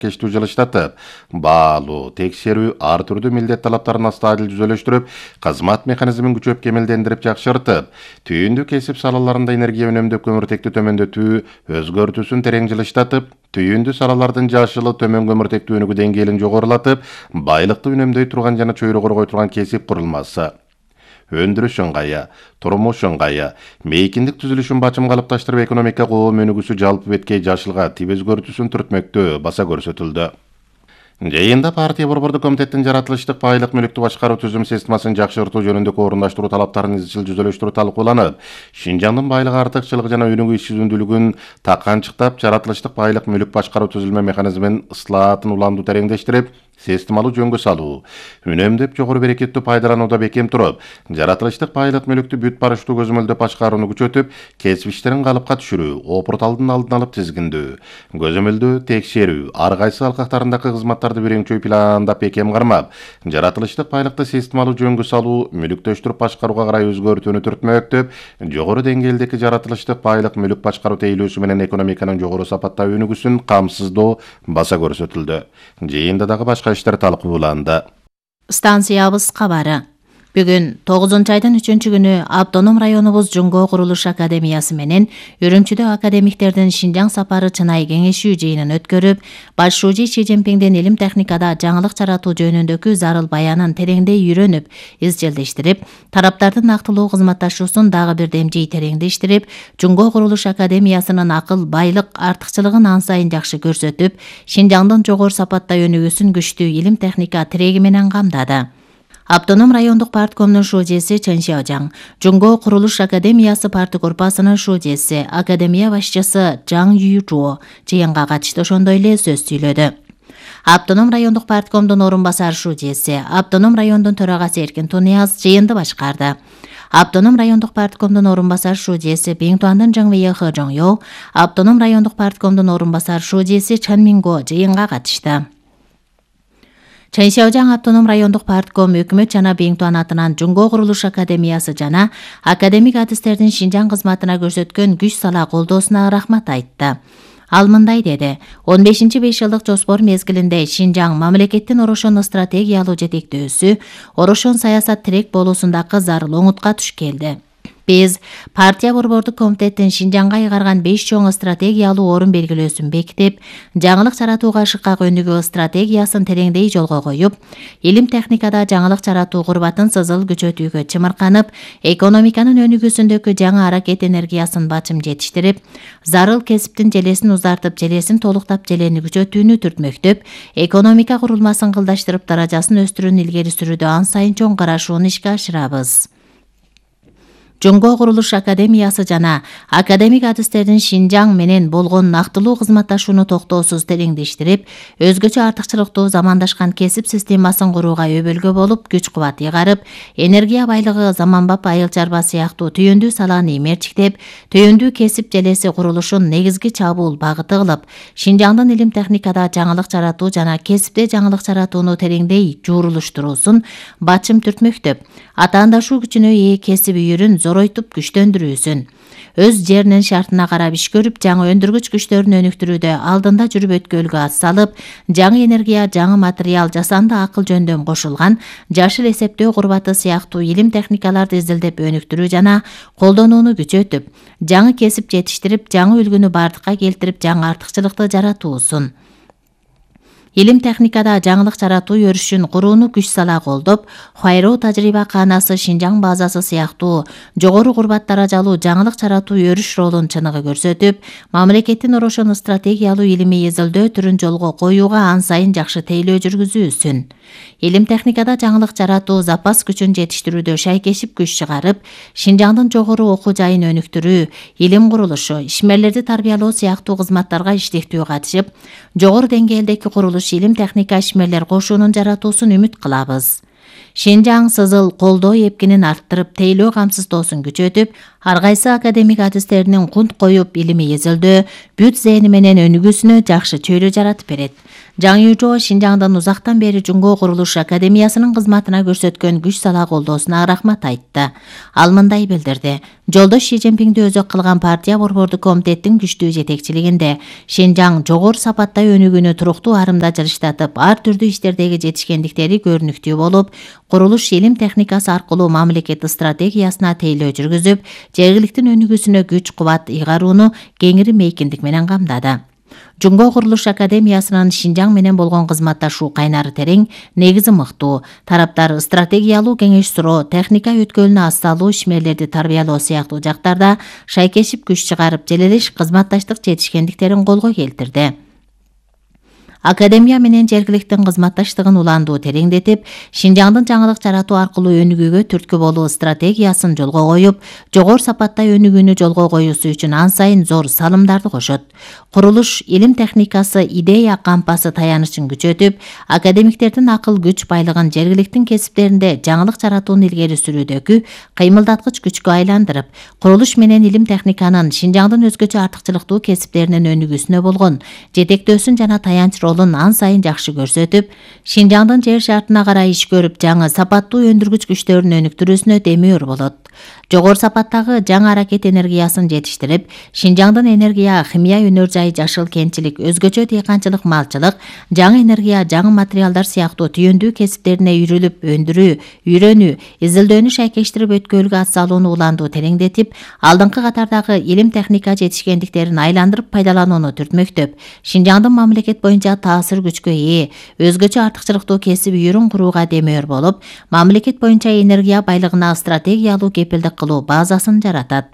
кештүү жылыштатып, баалуу, текшерүү, ар түрдүү милдет талаптарын астадил жүзөлөштүрүп, кызмат механизмин күчөп кемелдендирип жакшыртып, түйүндүү кесип салаларында энергия үнөмдөп көмүртекти төмөндөтүү өзгөртүүсүн терең жылыштатып, түйүндүү салалардын жашылы төмөн көмүртек өнүгүү деңгээлин жогорулатып, байлыкты үнөмдөй турган жана чөйрө коргой турган кесип курулмасы өндүрүш ыңгайы, турмуш ыңгайы, мейкиндик түзүлүшүн бачым калыпташтырып экономика коом өнүгүүсү жалпы беткей жашылга тип өзгөртүүсүн түртмөктө баса көрсөтүлдү. Жыйында партия борбордук комитеттин жаратылыштык байлык мүлүктү башкаруу түзүм системасын жакшыртуу жөнүндөгү орундаштыруу талаптарын изчил жүзөлөштүрүү талкууланып, Шинжаңдын байлык артыкчылыгы жана өнүгүү ишчүндүүлүгүн таканчыктап, жаратылыштык байлык мүлүк башкаруу түзүлмө механизминин ыслаатын уламдуу тереңдештирип, системалуу жөнгө салуу, үнөмдөп жогору берекеттүү пайдаланууда бекем туруп, жаратылыштык байлык мүлүктү бүт барыштуу көзөмөлдөп башкарууну күчөтүп, кесип иштерин калыпка түшүрүү, опурталдын алдын алып тизгиндөө, көзөмөлдөө, текшерүү, ар кайсы алкактарындагы кызматтарды биринчи пландап бекем кармап, жаратылыштык байлыкты системалуу жөнгө салуу, мүлүктөштүрүп башкарууга карай өзгөртүүнү түртмөктөп, жогору деңгээлдеги жаратылыштык байлык мүлүк башкаруу тейлөөсү менен экономиканын жогору сапатта өнүгүүсүн камсыздоо баса көрсөтүлдү. Жыйында дагы башка иштер талкууланды. Станциябыз кабары. Бүгүн 9-айдын 3-күнү автоном районубуз Жуңго курулуш академиясы менен Үрүмчүдө академиктердин Шинжаң сапары чынай кеңешүү жыйынын өткөрүп, башчы Си Цзиньпиндин илим техникада жаңылык жаратуу жөнүндөгү зарыл баянын тереңдей үйрөнүп, изчилдештирип, тараптардын нактылуу кызматташуусун дагы бир демжей тереңдештирип, Жуңго курулуш академиясынын акыл, байлык артыкчылыгын ан сайын жакшы көрсөтүп, Шинжаңдын жогору сапатта өнүгүүсүн күчтүү илим техника тиреги менен камдады. Автоном райондук парткомдун шужеси Чен Шаожаң, Жуңго курулуш академиясы парты корпусунун шужеси, академия башчысы Жаң Юйжуо жыйынга катышты, ошондой эле сөз сүйлөдү. Автоном райондук парткомдун орун басар шужеси, автоном райондун төрагасы Эркин Тунияз жыйынды башкарды. Автоном райондук парткомдун орун басар шужеси Биңтуандын Жаңвейе Хэ Жоңё, автоном райондук парткомдун орун басар шужеси Чан Минго жыйынга катышты. Чен Шаожаң автоном райондук партком өкмөт жана Биңтуан атынан Жуңго курулуш академиясы жана академик адистердин Шинжаң кызматына көрсөткөн күч сала колдоосуна рахмат айтты. Ал мындай деди: 15-5 жылдык жоспор мезгилинде Шинжаң мамлекеттин орошон стратегиялуу жетектөөсү, орошон саясат тирек болуусундагы зарыл оңутка туш келди. Биз партия борбордук комитеттин Шинжаңга айгарган 5 чоң стратегиялуу орун белгилөөсүн бекитип, жаңылык жаратууга шыкак өнүгүү стратегиясын тереңдей жолго коюп, илим техникада жаңылык жаратуу курбатын сызыл күчөтүүгө чымырканып, экономиканын өнүгүүсүндөгү жаңы аракет энергиясын бачым жетиштирип, зарыл кесиптин желесин узартып, желесин толуктап, желени күчөтүүнү түртмөктөп, экономика курулмасын кылдаштырып, даражасын өстүрүүнү илгери сүрүүдө ан сайын чоң карашууну ишке ашырабыз. Жуңго курулуш академиясы жана академик адистердин Шинжаң менен болгон нактылуу кызматташууну токтоосуз тереңдештирип, өзгөчө артыкчылыктуу замандашкан кесип системасын курууга өбөлгө болуп, күч кубат ыйгарып, энергия байлыгы, заманбап айыл чарба сыяктуу түйүндүү саланы мерчиктеп, түйүндүү кесип желеси курулушун негизги чабуул багыты кылып, Шинжаңдын илим техникада жаңылык жаратуу жана кесипте жаңылык жаратууну тереңдей жуурулуштуруусун бачым түртмөктөп, атаандашуу күчүнө ээ кесип үйүрүн зоройтуп күчтөндүрүүсүн, өз жеринин шартына карап иш көрүп, жаңы өндүргүч күчтөрүн өнүктүрүүдө алдында жүрүп өткөлгө ат салып, жаңы энергия, жаңы материал, жасанды акыл жөндөм кошулган жашыл эсептөө курбаты сыяктуу илим техникаларды изилдеп өнүктүрүү жана колдонууну күчөтүп, жаңы кесип жетиштирип, жаңы үлгүнү бардыкка келтирип, жаңы артыкчылыкты жаратуусун. Илим техникада жаңылык жаратуу өрүшүн курууну күч сала колдоп, Хайроо тажрыйба каанасы, Шинжаң базасы сыяктуу жогору курбат даражалуу жаңылык жаратуу өрүш ролун чыныгы көрсөтүп, мамлекеттин орошон стратегиялуу илимий изилдөө түрүн жолго коюуга ан сайын жакшы тейлөө жүргүзүүсүн. Илим техникада жаңылык жаратуу запас күчүн жетиштирүүдө шайкешип күч чыгарып, Шинжаңдын жогору окуу жайын өнүктүрүү, илим курулушу, ишмерлерди тарбиялоо сыяктуу кызматтарга иштектүү катышып, жогору деңгээлдеги курулуш илим техника ишмерлер кошуунун жаратуусун үмүт кылабыз. Шинжаң сызыл колдоо эпкинин арттырып, тейлөө камсыздоосун күчөтүп, Ар кайсы академик адистеринин кунт коюп илимий эзелдөө, бүт зээни менен өнүгүүсүнө жакшы чөйрө жаратып берет. Жаң Южо Шинжаңдын узактан бери Жумго Курулуш Академиясынын кызматына көрсөткөн күч сала колдоосуна рахмат айтты. Ал мындай билдирди: Жолдош Ши Цзиньпинди өзөк кылган партия борбордук комитеттин күчтүү жетекчилигинде Шинжаң жогору сапаттай өнүгүүнү туруктуу арымда жылыштатып, ар түрдүү иштердеги жетишкендиктери көрүнүктүү болуп, курулуш илим техникасы аркылуу мамлекет стратегиясына тейлөө жүргүзүп, жергиликтин өнүгүүсүнө күч кубат ыйгарууну кеңири мейкиндик менен камдады. Жумго Курулуш Академиясынын Шинжаң менен болгон кызматташуу кайнары терең, негизи мыктуу. Тараптар стратегиялуу кеңеш суроо, техника өткөлүнө асталуу ишмерлерди тарбиялоо сыяктуу жактарда шайкешип күч чыгарып, желелеш кызматташтык жетишкендиктерин колго келтирди. Академия менен жергиликтин кызматташтыгын уландуу тереңдетип, Шинжаңдын жаңылык жаратуу аркылуу өнүгүүгө түрткү болуу стратегиясын жолго коюп, жогору сапаттай өнүгүүнү жолго коюусу үчүн ан сайын зор салымдарды кошот. Курулуш илим техникасы идея кампасы таянычын күчөтүп, академиктердин акыл күч байлыгын жергиликтин кесиптеринде жаңылык жаратууну илгери сүрүүдөгү кыймылдаткыч күчкө айландырып, курулуш менен илим техниканын Шинжаңдын өзгөчө артыкчылыктуу кесиптеринин өнүгүүсүнө болгон жетектөөсүн жана таянч ролун ан сайын жакшы көрсөтүп, Шинжаңдын жер шартына карай иш көрүп, жаңы сапаттуу өндүргүч күчтөрүн өнүктүрүүсүнө демөөр болот. Жогору сапаттагы жаңы аракет энергиясын жетиштирип, Шинжаңдын энергия, химия өнөр жайы, жашыл кентчилик, өзгөчө дыйканчылык, малчылык, жаңы энергия, жаңы материалдар сыяктуу түйүндүү кесиптерине үйрүлүп, өндүрүү, үйрөнүү, изилдөөнү шайкештирип өткөлгө атсалууну уландуу тереңдетип, алдыңкы катардагы илим техника жетишкендиктерин айландырып пайдаланууну түртмөктөп, Шинжаңдын мамлекет боюнча таасир күчкө ээ, өзгөчө артыкчылыктуу кесип үйүрүн курууга демөөр болуп, мамлекет боюнча энергия байлыгына стратегиялуу кепилдик кылуу базасын жаратат.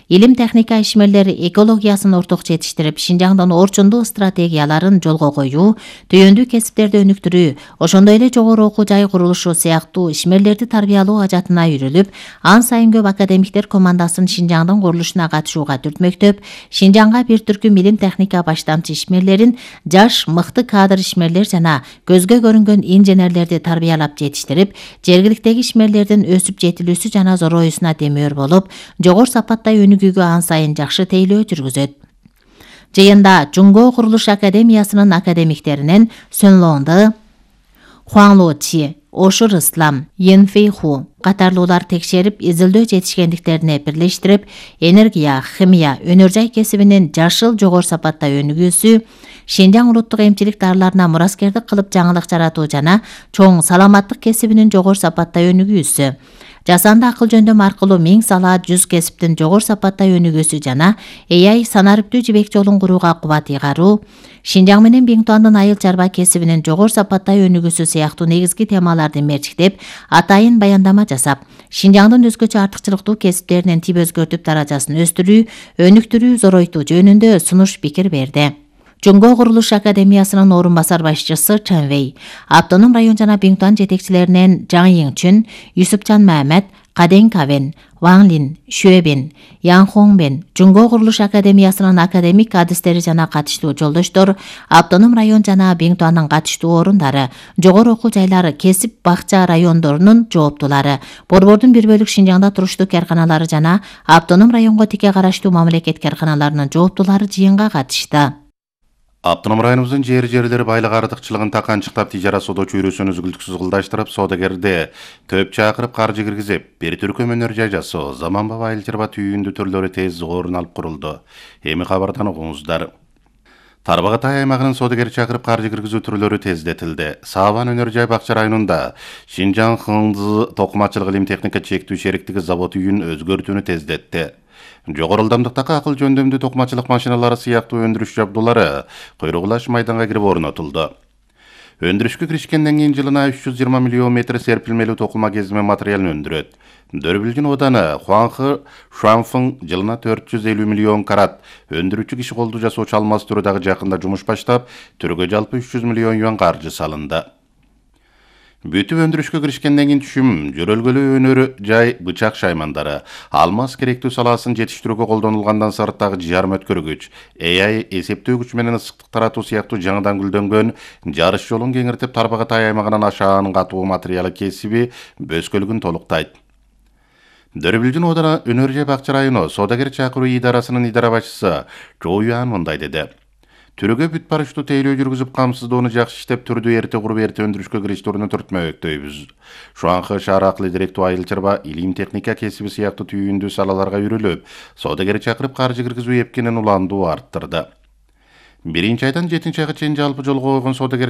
Илим техника ишмерлери экологиясын орток жетиштирип, Шинжаңдын орчундуу стратегияларын жолго коюу, түйүндүү кесиптерди өнүктүрүү, ошондой эле жогору окуу жай курулушу сыяктуу ишмерлерди тарбиялоо ажатына үйрүлүп, ан сайын көп академиктер командасын Шинжаңдын курулушуна катышууга түртмөктөп, Шинжаңга бир түркүм илим техника баштамчы ишмерлерин, жаш, мыкты кадр ишмерлер жана көзгө көрүнгөн инженерлерди тарбиялап жетиштирип, жергиликтеги ишмерлердин өсүп жетилүүсү жана зороюусуна демөөр болуп, жогору сапаттай өнүгүүгө ан сайын жакшы тейлөө жүргүзөт. Жыйында Жумго Курулуш Академиясынын академиктеринен Сөн Лоңды, Хуаң Ло Чи, Ошур Ислам, Йен Фэй Ху катарлуулар текшерип, изилдөө жетишкендиктерине бирлештирип, энергия, химия, өнөр жай кесибинин жашыл жогору сапаттай өнүгүүсү, Шинжаң улуттук эмчилик дарыларына мураскердик кылып жаңылык жаратуу жана чоң саламаттык кесибинин жогору сапаттай өнүгүүсү, жасанды акыл жөндөм аркылуу 1000 сала 100 кесиптин жогору сапаттай өнүгүүсү жана AI санариптүү жибек жолун курууга кубат ыйгаруу, Шинжаң менен Биңтуандын айыл чарба кесибинин жогору сапаттай өнүгүүсү сыяктуу негизги темаларды мерчиктеп, атайын баяндама жасап, Шинжаңдын өзгөчө артыкчылыктуу кесиптеринин тип өзгөртүп даражасын өстүрүү, өнүктүрүү, зоройтуу жөнүндө сунуш пикир берди. Жумго Курулуш Академиясынын орун басар башчысы Чен Вэй, Автоном район жана Биңтуан жетекчилеринен Жаң Йиңчүн, Юсупчан Мамед, Каден Кавен, Ваң Лин, Шуэбин, Ян Хоңбен, Жумго Курулуш Академиясынын академик адистери жана катыштуу жолдоштор, Автоном район жана Биңтуандын катыштуу орундары, жогору окуу жайлары, кесип бакча райондорунун жооптулары, борбордун бир бөлүк Шинжаңда туруштуу карканалары жана Автоном районго тике караштуу мамлекет карканаларынын жооптулары жыйынга катышты. Автоном районубуздун жерлери байлык артыкчылыгын таканчыктап, тижара соода чөйрөсүн үзгүлтүксүз кылдаштырып, соодагерди төп чакырып каржы киргизип, бир түркүм өнөр жай жасоо, заманбап айыл чарба түйүндүү түрлөрү тез орун алып курулду. Эми кабардан угуңуздар. Тарбагатай аймагынын соодагер чакырып каржы киргизүү түрлөрү тездетилди. Сабан өнөр жай бакча районунда Шинжаң Хыңзы токумачылык илим техника чектүү шериктиги завод үйүн өзгөртүүнү тездетти. Жогору ылдамдыктагы акыл жөндөмдүү токумачылык машиналары сыяктуу өндүрүш жабдуулары койрогулаш майданга кирип орнотулду. Өндүрүшкө киришкенден кийин жылына 320 миллион метр серпилмелүү токума кезме материалын өндүрөт. Дөрбүлгүн ооданы Хуаңхы Шуанфың жылына 450 миллион карат өндүрүүчү киши колду жасоочу алмаз түрү дагы жакында жумуш баштап, түргө жалпы 300 миллион юан каржы салынды. Бүтүп өндүрүшкө киришкенден кийин түшүм, жөрөлгөлүү өнөр жай бычак шаймандары, алмаз керектүү салаасын жетиштирүүгө колдонулгандан сырттагы жарым өткөргүч, AI эсептөө күч менен ысыктык таратуу сыяктуу жаңыдан гүлдөнгөн жарыш жолун кеңиртип, Тарбагатай аймагынан ашаан катуу материалы кесиби бөскөлүгүн толуктайт. Дөрбүлжүн Оодана Өнөр Бакчы району соодагер чакыруу идарасынын идара башчысы Чоо Юан мындай деди. Түрүгө бүт барыштуу тейлөө жүргүзүп камсыздоону жакшы иштеп түрдү эрте куруп эрте өндүрүшкө кириштерүүнү түртмөктөйбүз. Шуаңкы шаар аркылуу директүү айыл чарба, илим техника кесиби сыяктуу түйүндүү салаларга үйрүлүп, соодагер чакырып каржы киргизүү эпкенин уландуу арттырды. 1 айдан 7 айга чейин жалпы жолго койгон соодагер